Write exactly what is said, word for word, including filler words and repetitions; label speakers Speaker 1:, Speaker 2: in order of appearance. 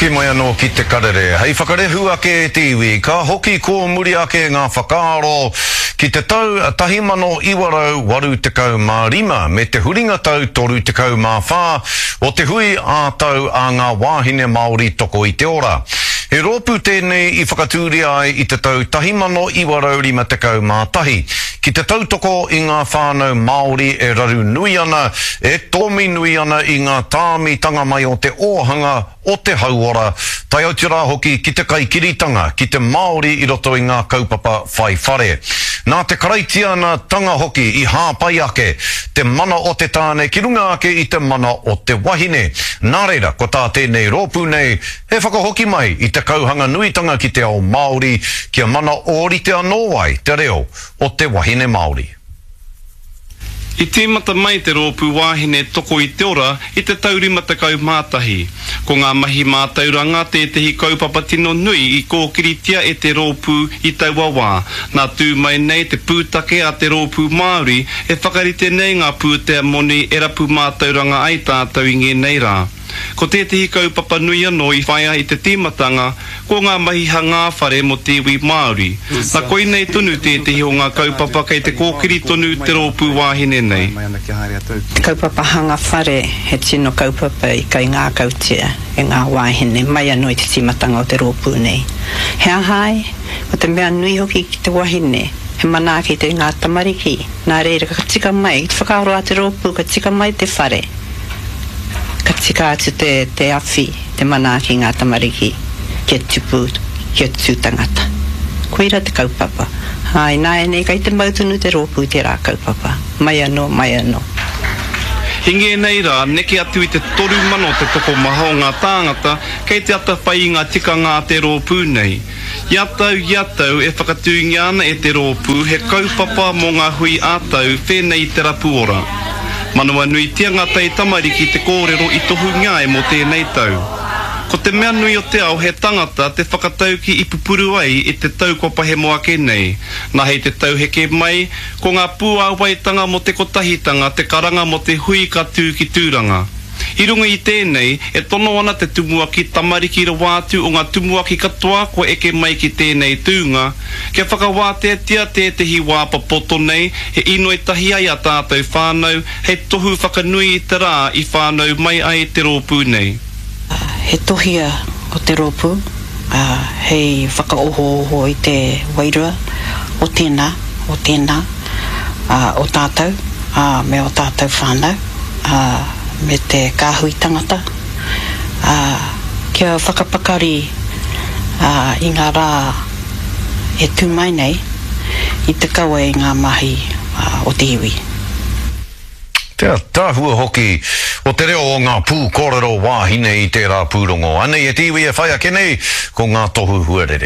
Speaker 1: Hoki mai anō ki te karere. Hei whakarehu ake te iwi, ka hoki ko muri ake ngā whakaaro ki te tau tahi mano iwa rau waru tekau mā rima me te huringa tau toru tekau mā whā o te hui ā-tau a ngā wāhine Māori toko i te ora. He rōpū tēnei i whakatūria ai i te tau tahi mano iwa rau rima tekau mā tahi ki te tautoko i ngā whānau Māori e raru nui ana, e tōmi nui ana i ngā tāmitanga mai o te ōhanga o te hauora, tae atu rā hoki ki te kaikiritanga, ki te Māori i roto i ngā kaupapa whai whare. Nā te karaitiana tanga hoki i hāpai ake te mana o te tāne ki runga ake i te mana o te wahine. Nā reira, ko tā tēnei rōpū nei, he whakahoki mai i te kauhanga nuitanga ki te ao Māori, kia mana ōrite anō ai te reo o te wahine Māori.
Speaker 2: I tīmata mai te rōpū wāhine toko i te ora i te tau rima tekau mā tahi. Ko ngā mahi mātauranga tētehi kaupapa tino nui i kōkiritia e te rōpū i taua wā. Nā tū mai nei te pūtake a te rōpū Māori e whakarite nei ngā pūtea moni e rapu mātauranga ai tātou i ngēnei rā. Ko tētehi kaupapa nui anō i whaia i te tīmatanga, ko ngā mahi hangā whare mō te iwi Māori. Nā koinei tonu tētehi o ngā kaupapa kei te kōkiri tonu te rōpū wāhine nei.
Speaker 3: Te kaupapa hanga whare he tino kaupapa i kaingākautia e ngā wāhine mai anō i te tīmatanga o te rōpū nei. He aha ai? Ko te mea nui hoki ki te wahine, he manaaki te ngā tamariki. Nā reira ka tika mai, te whakaaro a te rōpū ka tika mai te whare. Ka tika atu te, te awhi, te manaaki ngā tamariki, kia tupu, kia tū tangata. Koira te kaupapa. Ai, nā e nei, kei te mau tonu te rōpū tērā kaupapa. Mai anō, mai anō.
Speaker 2: I ngēnei rā, neke atu i te toru mano te tokomaha o ngā tāngata kei te atawhai i ngā tikanga a te rōpū nei. Ia tau, ia tau e whakatūngia ana e te rōpū he kaupapa mō ngā hui ā-tau whēnei i te rapu ora. Manawa nuitia ngā tai tamariki te kōrero i tohungia ai mō tēnei tau. Ko te mea nui o te ao he tangata te whakatauki i pupuru ai i te tau kua pahemo ake nei. Nā hei te tau heke mai, ko ngā pūāwaitanga mō te kotahitanga te karanga mō te hui ka tū ki Tūranga. I runga i tēnei, e tono ana te tumuaki tamariki rawa atu o ngā tumuaki katoa kua eke mai ki tēnei tūnga, kia whakawāteatia tētehi wā papoto nei he inoi tahi ai a tātou whānau hei tohu whakanui i te rā i whānau mai ai te rōpū nei.
Speaker 3: He tohia o te rōpū, hei whakaohooho i te wairua o tēnā, o tēnā, o tātou, me o tātou whānau, me te kāhui tangata, kia whakapakari i ngā rā e tū mai nei i te kawe i ngā mahi o te iwi.
Speaker 1: Te ataahua hoki o te reo o ngā pūkōrero wāhine i tērā pūrongo. Anei e te iwi e whai ake nei, ko ngā tohu huarere.